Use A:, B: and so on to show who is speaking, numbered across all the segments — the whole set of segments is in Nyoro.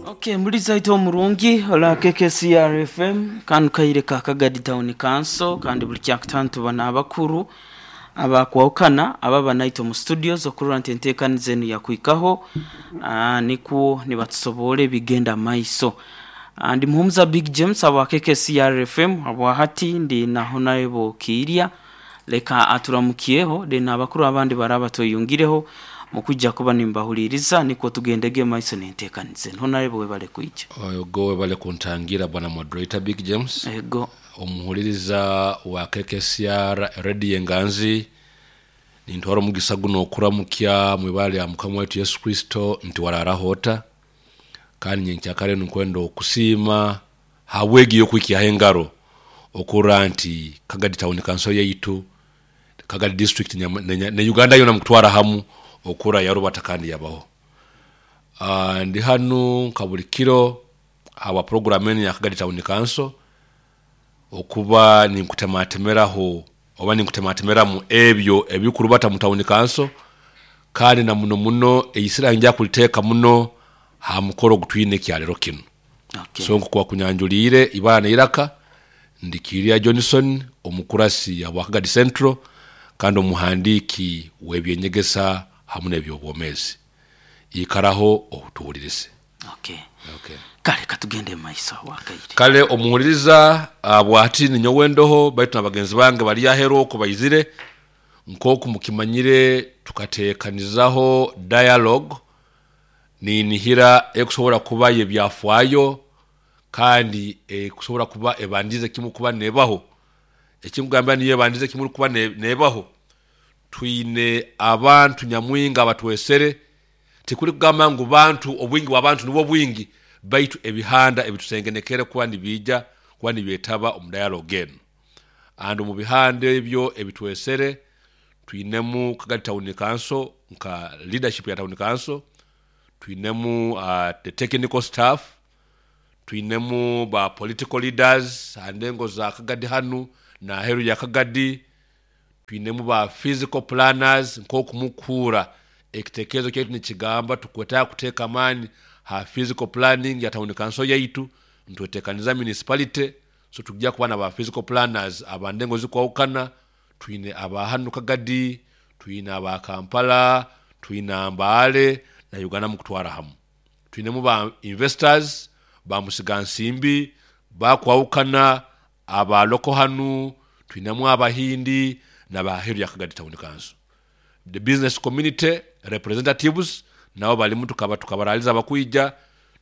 A: Okay, muliza aite omurungi ola KKCR FM kanu kaire ka Kagadi Town Council kandi buli kyakutaano tuba n'abakuru abakwahukana ababa naitwe omu studios okurora nti enteekaniza enu yakuhikaho nikwo nibatusoborra ebigenda maiso. Ndi Muhumuza Big James habwa KKCR FM habwa hati ndi na Honorable Kiirya leka aturamukyeho then abakuru abandi baraba tweyungireho mukwija kuba nimbahuliiriza nikwo tugendege maiso n'enteekaniza enu. Honorable webale kwija.
B: Ogo webale kuntangira bwana moderator Big James.
A: Ego.
B: Omuhuliriza wa KKCR Radio Enganzi, nintwara omugisa guno okuramukya mwibale ya Mukama waitu Yesu Kristo nti wararaho ota, kandi nyenkyakare nkwenda okusiima habwegi yokwikyaho engaro okurora nti Kagadi Town Council yaitu, Kagadi District ne Uganda yona mukutwara hamu okura yarubata kandi yabaho. Ndi hanu nka buli kiro habwa program enu ya Kagadi Town Council okuba ninkutematemeraho oba ninkutematemeramu ebyo ebikurubata mu Town Council, kandi na muno muno eisira nja kuliteeka muno ha mukoro ogutwine ekyalero kinu.
A: Okay.
B: So nkoku wakunyanjuliire ibara neiraka, ndi Kiirya Johnson omukurasi habwa Kagadi Central kandi omuhandiiki w'ebyenyegesa hamu n'ebyobwomeezi. Ikaraho otuhulirize.
A: Okay.
B: Okay.
A: Kale katugende maiso wakaire.
B: Kale omuhuliriza bwati ninyowe ndoho baitu na bagenzi bange bali aheru okwo baizire. Nk'oku mukimanyire tukateekanizaho dialogue ninihira ekusobora kuba y'ebyafaayo kandi ekusobora kuba ebandize kimu kuba nebaho. Ekinkugambira niyo ebandize kimu kuba nebaho. Twine abantu nyamwingi abatwesere, tikuli kugamba ngu bantu obwingi bw'abantu nibwo bwingi, baitu ebihanda ebitusengenekere kuba nibiija kuba nibyetaba omu dialogue enu. And omu bihanda ebyo ebitwesere twinemu Kagadi Town Council nka leadership ya Town Council, twinemu the technical staff, twinemu ba political leaders ha ndengo za Kagadi hanu n'aheeru ya Kagadi, twinemu ba physical planners nk'oku mukuhurra ekitekerezo kyaitu nikigamba tukwetaaga kuteeka amaani ha physical planning ya Town Council yaitu, nitwetekaniza municipality, so tujja kuba na ba physical planners aba ndengo zikwahukana, twine aba hanu Kagadi, twine aba Kampala, twine Mbale na Uganda mukutwara hamu. Twinemu ba investors, ba musigansimbi bakwahukana, aba local hanu, twinemu Abahindi n'abaheeru ya Kagadi Town Council. The business community representatives nabo balimu tukaba tukabaraliza abakwija.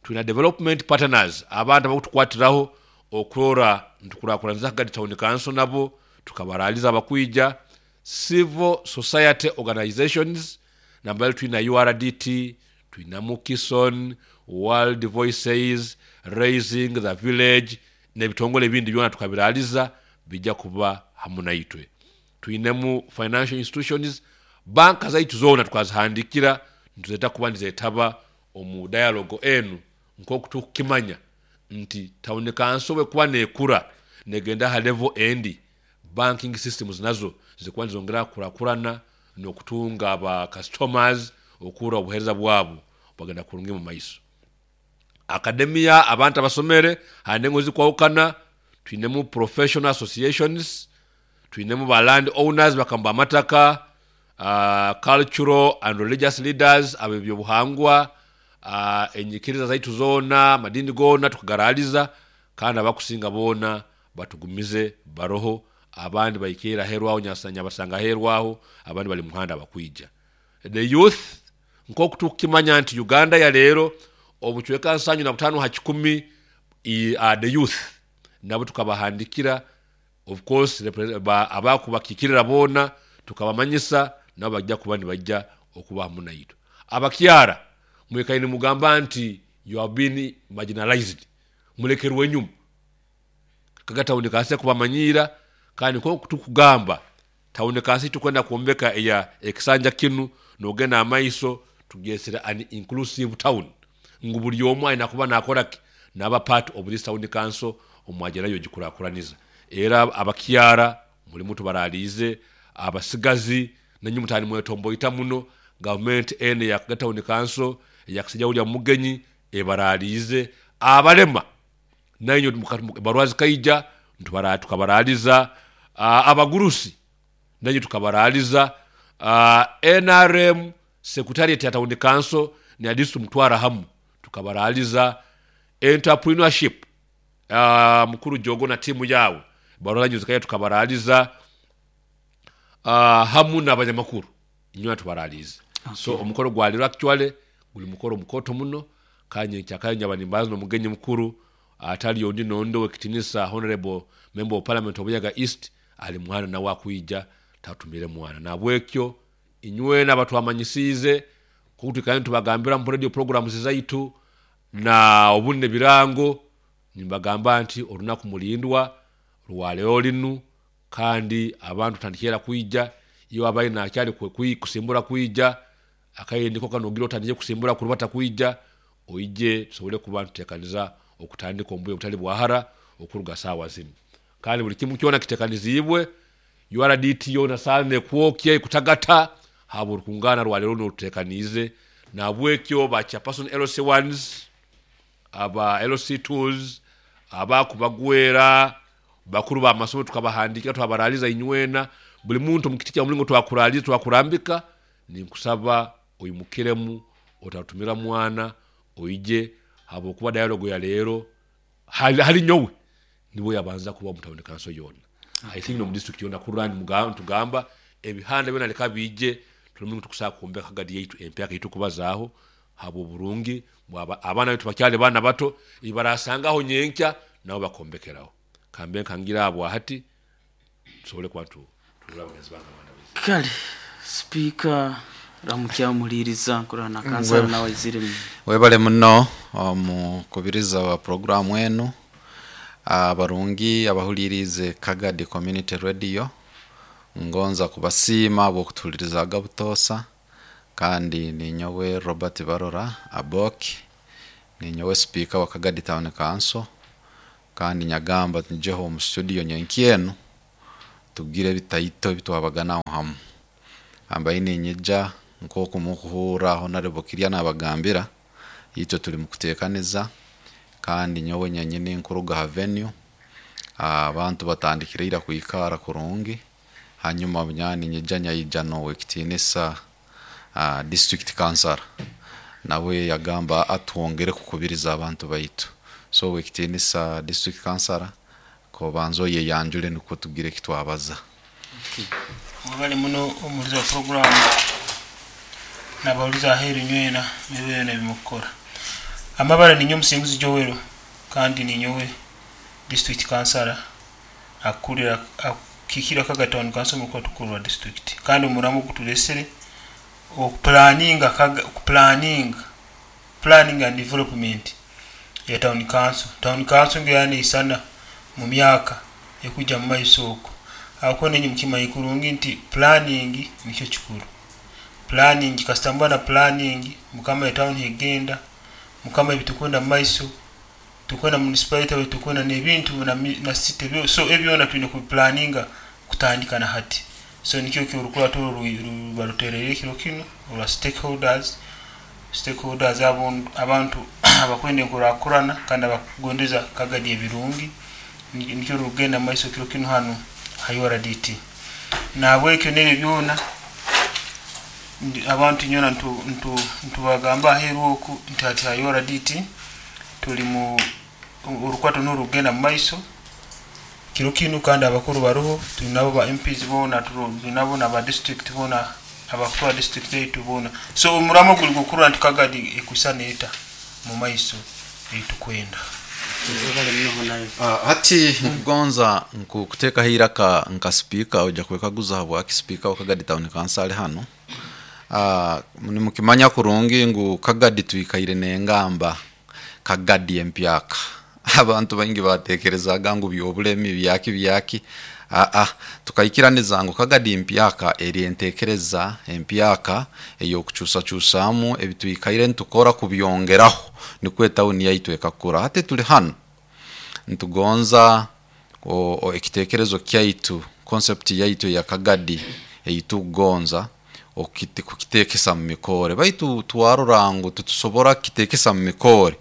B: Twina development partners, abantu abakutukwatiraho okurora ntukurakuraniza Kagadi Town Council nabo tukabaraliza abakwija. Civil society organizations nambali twina URDT, twina Mukison, World Voices, Raising the Village n'ebitongole ebindi byona tukabiraliza bijja kuba hamu naitwe. Twinemu financial institutions, banka zaitu zoona tukazihandikira nituzeta kuba nizetaba omu dialogue enu nk'oku tukukimanya nti Town Council bwekuba nekura negenda ha level endi, banking systems nazo zikuba nizongera kukurakurana n'okutunga aba customers okuhurra obuheereza bwabo bwagenda kurungi mu maiso. Academia, abantu abasomere ha ndengo ezikwahukana, twinemu professional associations, twinemu ba land owners bakamba amataka, cultural and religious leaders ab'ebyobuhangwa, enyikiriza zaitu zoona, amadini goona tukagaraliza kandi abakusinga boona batugumize baroho, abandi baikaire aheeru aho nyabasanga aheeru aho, abandi bali muhanda bakwija. The youth, nk'oku tukukimanya nti Uganda ya leero obucweka 75 ha kikumi are the youth, nabo tukabahandikira of course abakubakikirira boona tukabamanyisa nabo bajja kuba nibajja okuba hamu naitwe. Abakyara mwikaire nimugamba nti you have been marginalized, mulekerwe enyuma. Kaga tawuni kansi kubamanyiira kandi nk'oku tukugamba tawuni kansi tukwenda kwombeka eya ekisanja kinu nogenda amaiso tugyesere an inclusive town ngu buli omu aina kuba nakora ki naba part of this town council omwagerayo ogikurakuraniza. Era abakyara mulimu tubaraliize, abasigazi nenye mutani mwetomboita muno, gavumenti eno eya Kaga Town Council eya Kisija William Mugenyi Ebaraaliize abalema nainywe barua zikaija tukabaraaliza, abagurusi nainywe tukabaraaliza, NRM secretariat ya town council na district mutwara hamu tukabaraaliza, entrepreneurship mukuru Jogo na timu yawe barua zanyu zikaija tukabaraaliza, hamu n'abanyamakuru inywe tubaraalize. So omukoro gwaliro actually guli mukoro mukoto muno, kanye nkyakayo nyaba nimbaza n'omugenyi mukuru atali ondi nondi owekitinisa honorable member of parliament of Buyaga East ali mwana nawe akwija tatumire mwana. Nabwekyo inywena abatwamanyisiize kuko tubagambira mu radio programs zaitu na obunne birango, nimbagamba nti olunaku mulindwa lwaleo linu, kandi abantu tandikira kwija iyo abaye nakyali kusimbura kwija akaye ndiko kanogira otandike kusimbura kurubata kwija oije tusobole kuba ntutekaniza okutandika ombuye obutali bwahara okuruga saawa zinu. Kandi buli kimu kyona kitekanizibwe, URDT yona sane kwokya kutagata habo rukungana rwa lero n'orutekanize. Nabwekyo ba chairperson LC1s aba LC2s abakubagwera bakuru ba masomo tukabahandikira twabaraliza inywena buli muntu mukiti kya mulingo twakuraliza twakurambika. Ninkusaba oyimukiremu otatumira mwana oije habo kuba dialogue ya lero hali nyowe niwe yabanza kuba mutawuni kanso yona. I think no district yona kurani mugamba tugamba ebihanda byona leka bije tulimu tukusaba kuombeka kagadi yaitu empyaka yitu kubazaaho habo burungi abaana betu bakyali baana bato ibarasangaho nyenkya nabo bakombekeraho. Kambe nkangira abo hati tusobole kuba tulaba bagenzi bange abaana baitu.
A: Kale speaker ramukya muliriza nkurana kansala nawe izire.
C: Webale muno omukubiriza wa programu enu abarungi abahulirize Kagadi Community Radio, ngonza kubasiima bw'okutuhulirizaga butosa. Kandi ninyowe Robert Barora Aboki, ninyowe speaker wa Kagadi Town Council, kandi nyagamba njeho mu studio nyenkyenu tugire ebitaito bitwabaganaho hamu. Ambaye ninyija nk'oku mukuhurra Honorable Kirya nabagambira itwe tuli mukuteekaniza, kandi nyowe nyenyini nkuruga ha venue abantu batandikire ira kwikara kurungi. Hanyuma bunyani nyija nyaija n'owekitinisa district councilor nawe yagamba atwongere kukubiriza abantu baitu. So wekitinisa district councilor kobanzo ye yanjule nukwo tugire kitwabaza.
D: Mwebale muno omulizi wa program nabawuliza aheeru nywena mibere nebimukukora. Amabara ninyo omusinguzi Joel kandi ninyowe district councilor akulira akikira Kagadi Town Council mu kwatukuru wa district. Kandi omuramu gutulesere okuplanninga okuplanninga planning and development ya town council. Town council ngeyane isana mu myaka ekujja mu maiso okwo. Ako nenyi mukimanyi kurungi nti planning nikyo kikuru. Planning kasitambwa na planning mukama ya town hegenda mukama ebitukwenda mu maiso tukwenda municipality bitukwenda n'ebintu na city byo, so ebyona tulina ku planninga kutandika na hati. So nikyo kirukula baruterere kiro kino olwa stakeholders abantu abakwenda enkurakurana kandi abakugondeza Kagadi ebirungi nikyo rugenda mu maiso kiro kino hano ha URDT. Nabwekyo n'ebyo byona abantu nyona ntubagamba aheeru oku nti ati ha URDT tuli mu orukwato n'orugenda mu maiso kiro kino, kandi abakuru baruho tulinabo ba MPs bona tulinabo na ba district bona abakuru ba district yaitu bona. So omuramo guli gukuru nti Kagadi ekusana eta mu maiso eitukwenda.
C: Hati nkugonza nkukuteekaho iraka nka speaker ojja kwekaguza habwaki speaker wa Kagadi Town Council ali hano. Nimukimanya kurungi ngu Kagadi twikaire n'engamba Kagadi empyaka. Abantu baingi batekerezaga ngu byobulemi byaki byaki. Tukaikiraniza ngu Kagadi empyaka eri entekereza empyaka ey'okukyusakyusamu ebitwikaire ntukora kubyongeraho nikwo etawuni yaitu ekakura. Hati tuli hano ntugonza ekitekerezo kyaitu concept yaitu ya Kagadi eyitukugonza Okukitekesa mu mikore baitu twarora ngu titusobora kukitekesa mu mikore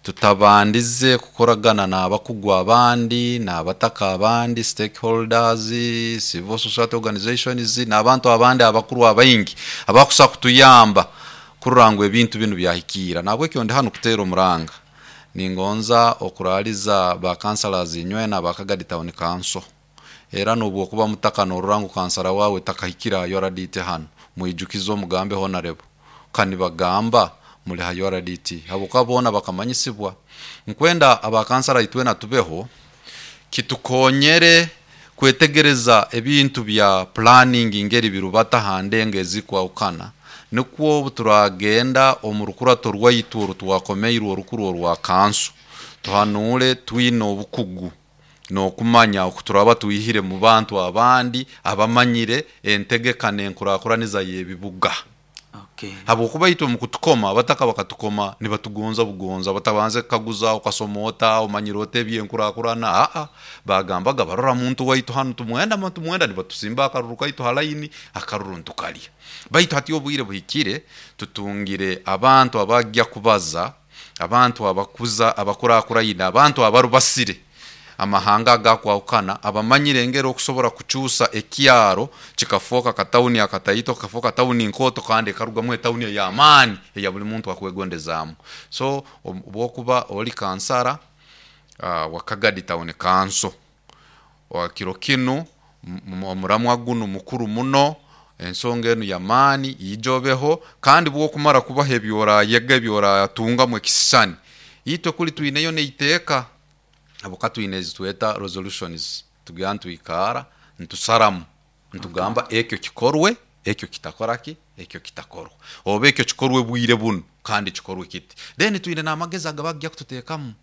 C: tutabandize kukoragana n'abakugu abandi, n'abataka abandi, stakeholders, civil society organizations, n'abantu abandi abakuru abaingi abakusobola kutuyamba kurora ngu ebintu binu byahikiira. Nahabwekyo ndi hanu kuteera omuranga, ningonza okuraaliza ba councillors inywena aba Kagadi Town Council, era nobwokuba mutaka norora ngu kansara wawe takahikire ha URDT hanu, mwijukize omugambe honorable kanibagamba muli ha URDT, habwokuba boona bakamanyisibwa. Nkwenda aba kansara itwena tubeho kitukonyere kwetegereza ebintu bya planning ngeri birubata ha ndengo ezikwahukana, nukwo obu turagenda omu rukurato rwaitu oru twakomeirwe orukuru orwa kanso, tuhanuule twine obukugu n'okumanya oku turaba twihire mu bantu abandi abamanyire entegeka n'enkurakuraniza y'ebibuga. Habwokuba itwe mu kutukoma, abataka bakatukoma nibatugonza bugonza, batabanze kukaguza okasoma ota, omanyire ota eby'enkurakurana, aa bagambaga barora muntu waitu hanu tumwenda tumwenda nibatusimba akaruru kaitu ha layini, akaruru ntukalya. Baitu hati obwire buhikire, tutungire abantu abajya kubaza, abantu abakuza abakurakuraine, abantu abarubasire amahanga agakwahukana, abamanyire engeri okusobora kukyusa ekyaro kikafooka katawuni akataito, kikafooka tawuni nkooto kandi ekarugamu etawuni ey'amaani eya buli muntu akwegondezaamu. So obwokuba oli kansara wa Kagadi Town Council, kiro kinu omuramwa gunu mukuru muno, ensonga enu y'amaani, ija obeho, kandi bwokumara kubaho ebyorayega ebyoratungamu ekisisani, itwe kuli twineyo n'eiteeka, habwokuba twine ezitweta resolutions, tugenda nitwikaara nitusaramu, nitugamba ekyo kikorwe, ekyo kitakora ki, ekyo kitakorwa, oba ekyo kikorwe bwire bunu kandi kikorwe kiti. Then twine n'amagezi agabakugya kututeekamu,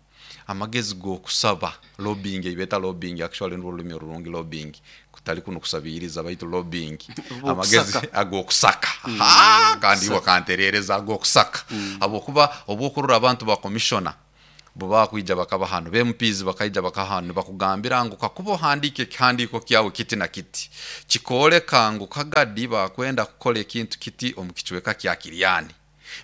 C: amagezi g'okusaba lobbying ei beeta lobbying, actually nirwo orulimi orurungi lobbying, kutali kunu kusabiiriza baitu lobbying, amagezi ag'okusaka, kandi iwe okantereereza ag'okusaka, habwokuba obu okurora abantu ba commissioner bo bakwija bakaba hanu, ba MPs bakaija bakaba hanu nibakugambira ngu kakuba ohandiika ekihandiiko kyawe kiti na kiti, kikooleka ngu Kagadi bakwenda kukora ekintu kiti omu kicweka kya Kiryani,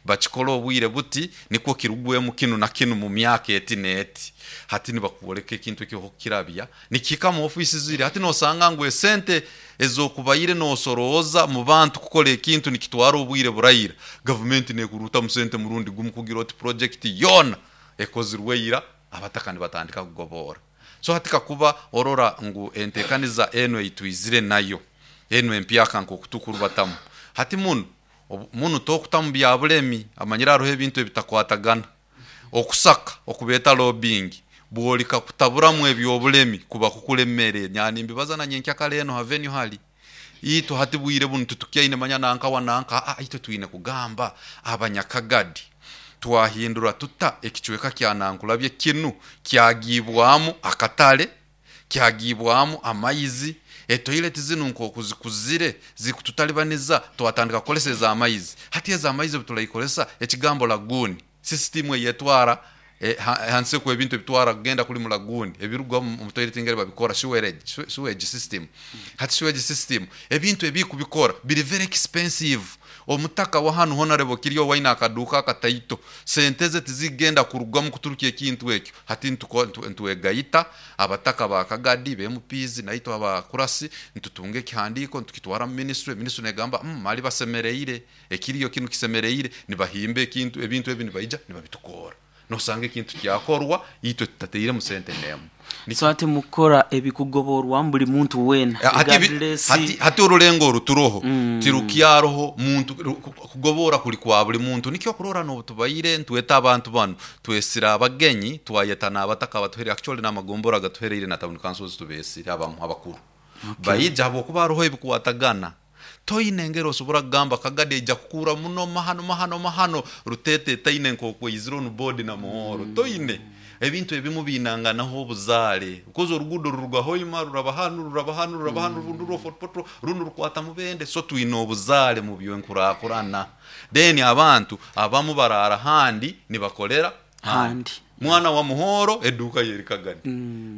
C: bakikole obwire buti nikwo kirugwemu kinu na kinu mu myaka eti n'eti. Hati nibakwoleka ekintu eki okukirabya nikihika mu ofiisi ziri, hati nosanga ngu esente ez'okubaire nosorooza mu bantu kukora ekintu nikitwara obwire buraira, gavumenti nekuruutamu sente murundi gumu kugira oti projekiti yoona ekozirwe ira, abataka nibatandika kugoboora. So hati kakuba orora ngu enteekaniza enu eitwizire nayo, enu empyaka nk'oku tukurubatamu, hati munu munu tokutamu bya bulemi, amanyire haroho ebintu ebitakwatagana. Okusaka okubeeta lobbying, bwolika kutaburamu eby'obulemi kuba kukulemere, nyawe nimbibaza na nyenkyakara enu ha venue hali, itwe hati bwire bunu titukyaine manya nanka wa nanka, aa itwe twine kugamba abanyakagadi twahindura tuta ekicweka kya Nankulabye kinu kyagiibwamu akatale, kyagiibwamu amaizi, etoileti zinu nk'oku zikuzire zikututalibaniza twatandika kukozesa ez'amaizi. Hati ez'amaizi obu turaikozesa ekigambo lagoon, system eyetwara hansi oku ebintu ebitwara kugenda kuli mu lagoon ebiruga omu toilet ngeri babikora sewage system. Hati sewage system ebintu ebikubikora biri very expensive. Omutaka wa hanu honorable kiri owaine akaduuka akataito, sente ze tizigenda kurugamu kuturukya ekintu ekyo. Hati nitwegaita abataka ba Kagadi, ba MPs naitwe abakurasi, nitutunga ekihandiiko nitukitwara mu ministry, ministry negamba mali basemereire, ekiriyo kinu kisemereire, nibahimba ekintu, ebintu ebi nibaija nibabitukoora. Nosanga ekintu kyakorwa itwe tutatairemu sente n'emu.
A: So hati mukora ebikugoborwamu buli muntu weena regardless.
C: Hati orulengo oru turoho tirukyaroho muntu kugoboora kuli kwa buli muntu. Nikyo okurora n'obu tubaire nitweta abantu banu, twesire abagenyi, twayeta n'abataka abatuhereire, actually n'amagombora agatuhereire na town councils tubeesire abamu abakuru. Baija habwokuba haroho ebikwatagana. Toine engeri osobora kugamba Kagadi aija kukuura muno mahano mahano mahano Ruteete etaine nk'oku eizire onu board na Muhoro. Toine. Ebintu ebimu biinanganaho obuzaare. Because oruguudo ruruga Hoima ruraba hanu ruraba hanu ruraba hanu rundi rwa Fort Portal rundi rukwata Mubende. So twine obuzaare mu by'enkurakurana. Then abantu abamu baraara handi nibakolera.
A: Handi.
C: Mwana wa Muhoro eduuka yeri Kagadi,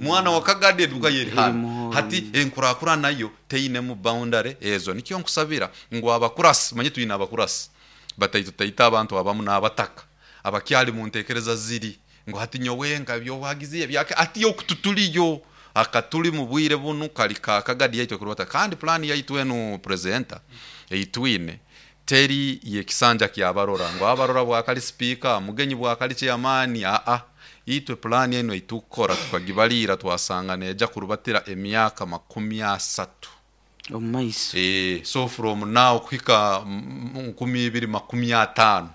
C: mwana wa Kagadi eduuka yeri handi.
A: Muhoro.
C: Hati enkurakura nayo teinemu boundary ezo. Nikyo nkusabira ngu abakurasi, manye twine abakurasi bataitu taita abantu abamu n'abataka abakyali mu ntekereza ziri ngu hati nyowe nka byowagize ebyake ati okututuliyo akatuli mu bwire bunu kali ka Kagadi yaitu kurubata. Kandi plan yaitu enu presenter eitwine teri yekisanja kyabarora ngo abarora bwakali speaker mugenyi bwakali chairman. A itwe plan eno itukora tukagibalira twasanga neja kurubatira emyaka 30
A: omu maiso.
C: So from now kuhika 2050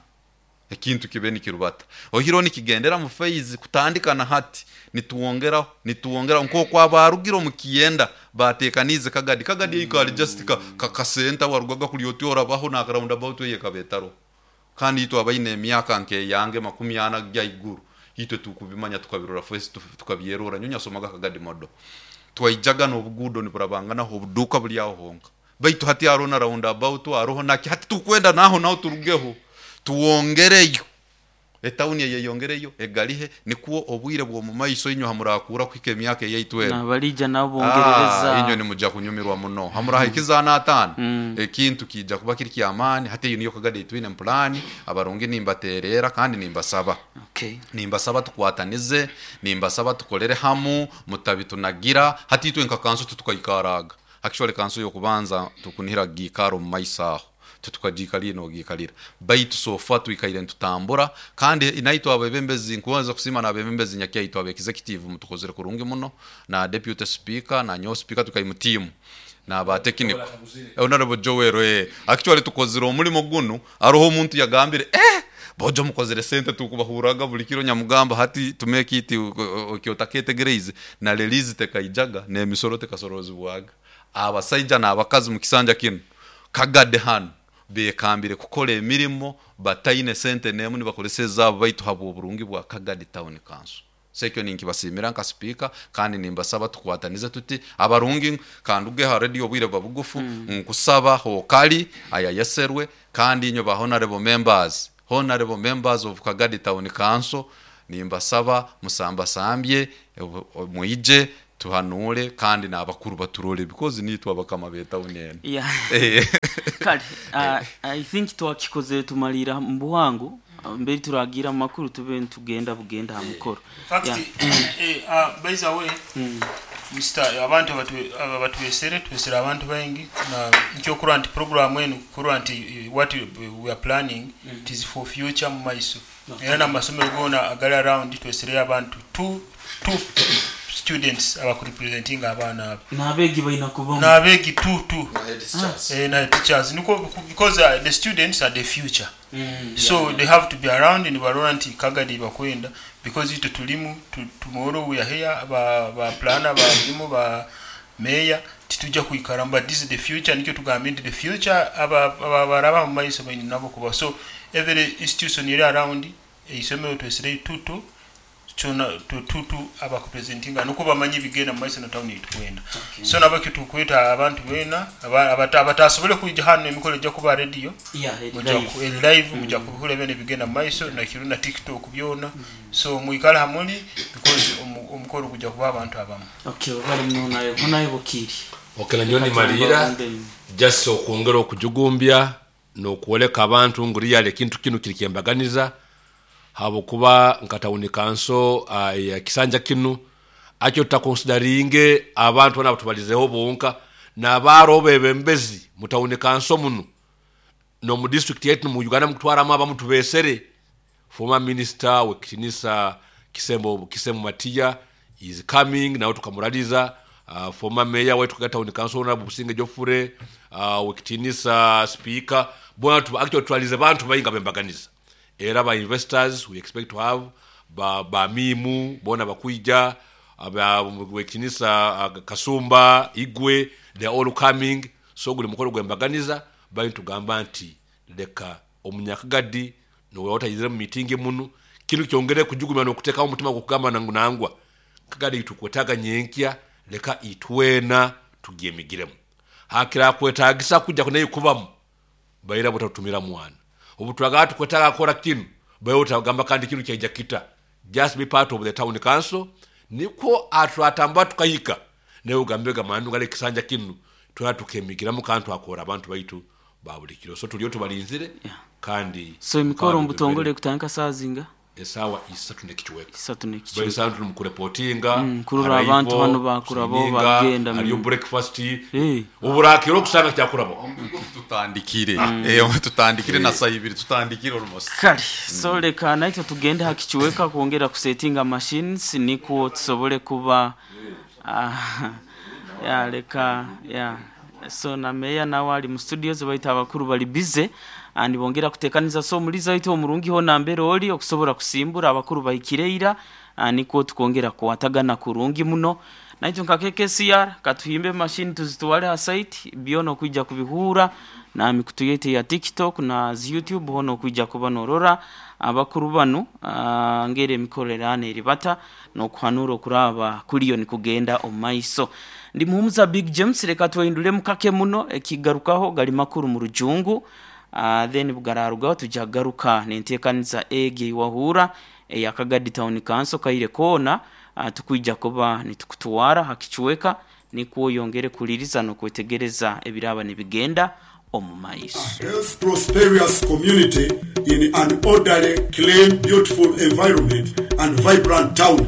C: ekintu kibe nikirubata ohiro nikigendera mu phase kutandika na hati nituwongeraho nituwongeraho nk'oku abarugire omu kiyenda batekanize Kagadi. Kagadi mm. Just ka kasenta warugaga kuli oti orabaho na roundabout eye kabetaro. Kandi itwe abaine emyaka nkeyange 40 gyaiguru itwe tukubimanya tukabirora first tukabyerora. Nyonya somaga Kagadi modo twaijaga n'obuguudo niburabanganaho obuduuka buli aho honka, baitu hati hariho na roundabout hariho naki. Hati tukwenda naho naho turugeho tuwongereyo etawuni eyeyongereyo egalihe nikwo obwire bw'omu maiso inywe hamurakura kuhika emyaka eyaitu eno.
A: Nabalija nabo bongerereza.
C: Inywe nimuja kunyumirwa muno hamurahikiza 5 ekintu kija kuba kiri kyamaani. Hati eyo niyo Kagadi itwine mpulani. Abarungi nimbaterera kandi nimbasaba, nimbasaba tukwatanize, nimbasaba tukolere hamu mutabitunagira. Hati itwe nka kanso tutukaikaraga, actually kanso yokubanza tukunihira giikaro mu maiso aho tutukagiikalira nogiikalira, baitu sofa twikaire ntutambura. Kandi naitwe abebembezi nkubanza kusima n'abebembezi nyakyaitu aba executive mutukozere kurungi muno na deputy speaker na nyo speaker tukai mu team na ba technical honorable Joel. Actually tukozere omulimo gunu. Aroho omuntu yagambire bojo mukozere sente tukubahuraga buli kiro. Nyamugamba hati to make it okyotaketegereize na release tekaijaga n'emisoro tekasorozibwaga. Abasaija n'abakazi mu kisanja kinu Kagade hano bekambire kukora emirimo bataine sente nemu nibakozesa ezaabo, baitu habwa oburungi bwa Kagadi Town Council. Sekyo ninkibasimira nka speaker kandi nimbasaba tukwatanize tuti abarungi. Kandi ha radio obwire buba bugufu, nkusaba hokali aya yeserwe. Kandi inywe ba honorable members, honorable members of Kagadi Town Council, nimbasaba musambasambye mwije tuhanure kandi n'abakuru baturole because nitwe abakama betawuni eno.
A: Kale I think twakikozere tumalira mu buhango mbere turagira amakuru tube ntugenda bugenda ha mukoro.
D: Fact, by the way, Mr. abantu aba batwesere twesere abantu baingi na nkyokurwa nti program enu kurwa nti what we are planning, it is for future mu maiso. Era n'amasomero gona agali around twesere abantu two students abakurepresenting abaana abo.
A: N'abeegi balina kubamu.
D: N'abeegi two two na teachers niko because the students are the future, so they have to be around nibarora nti Kagadi bakwenda because itwe tulimu tomorrow we are here ba planner ba mulimu ba mayor titujja kwikara, but this is the future. Nikyo tugambe nti the future aba baraba mu maiso baine nabo kuba. So every institution eri around eisomero twesere tutu kyona tutu abakupresentinga nuko bamanyi ebigenda mu maiso na town itukwenda. So nabo kitukweta abantu bena abatasobole kwija hano emikolo ejja kuba radio.
A: Eri
D: mujja
A: live.
D: Eri live mujja kubihura byona ebigenda mu maiso na kiru na TikTok byona. So mwikale hamuli because omukolo gujja kuba abantu abamu.
A: Okay, bali muno nayo nayo bukiri.
B: Okay, nanyo nimalira just okwongera okujugumbya n'okwoleka abantu ngu really ekintu kinu kiri kyembaganiza habwokuba nka town council ya kisanja kinu akyo tutakonsidaringe abantu bana batubalizeho bonka n'abaaro bebembezi mu town council muno n'omu district yaitu mu Uganda mukutwaramu abamu tubesere. Former minister wekitinisa Kisembo Kisemu Matiya is coming nawe tukamuraliza. Former mayor wetu ka town council honorable Businge Jofure, wekitinisa speaker bona actually twalize bantu bayinga bembaganiza. Era ba investors we expect to have ba mimu bona bakuija aba wekitinisa Kasumba Igwe, they are all coming. So guli mukolo gwembaganiza bali tugamba nti leka omunyakagadi nowe otayizire mu meeting munu kinu kyongere kujugumya n'okuteekawo omutima gw'okugamba nangu nangwa Kagadi itukwetaaga nyenkya leka itwena tugyemigiremu hakira kwetagisa kujja kunaye kubamu baira butatutumira mwana obu twagala tukwetaaga kukora kinu baira utagamba kandi kinu kyaija kita. Just be part of the town council, nikwo atwatamba tukahika nawe ugambe gamandu gale kisanja kinu twena tukemigiramu kandi twakora abantu baitu ba buli kiro. So tuliyo tubalinzire kandi
A: So emikoro
B: kandi
A: mubutongole kutandika saa zinga?
B: Esaawa 3 n'ekichweka.
A: 3 n'ekichweka.
B: Bali tuli mukureportinga.
A: Kurura abantu bano bakurabo bagenda
B: hariyo breakfast. Oburakiro okusanga kyakurabo.
C: Tutandikire. Tutandikire na saa 2 tutandikire almost.
A: Kale, so leka naitwe tugende hakichweka kwongera kusetinga machines nikwo tusobole kuba ya leka ya so na meya nawe ali mu studios baita abakuru bali busy and bongera kutekaniza. So muliza waitu omurungi ho nambere oli okusobora kusimbura abakuru bahikireira, nikwo tukongera kuwatagana kurungi muno. Naitwe nka KKCR katuhimbe machine tuzitwale ha site byono kwijja kubihura na mikutu yetu ya TikTok na YouTube hono kwijja kuba norora abakuru banu, ngere emikorerane eribata nokuhanura okuraba kuliyo nikugenda omumaiso. Ndi muhumuza Big James, reka twehindule mukake muno ekigarukaho gali makuru mu rujungu, then bugararugaho tujagaruka nenteekaniza egi eiwahura eya Kagadi Town Council kaire koona, tukwija kuba nitukutwara hakichweka nikwo yongere kuliriza nokwetegereza ebiraba nibigenda omu maiso.
E: Health prosperous community in an orderly, clean, beautiful environment and vibrant town.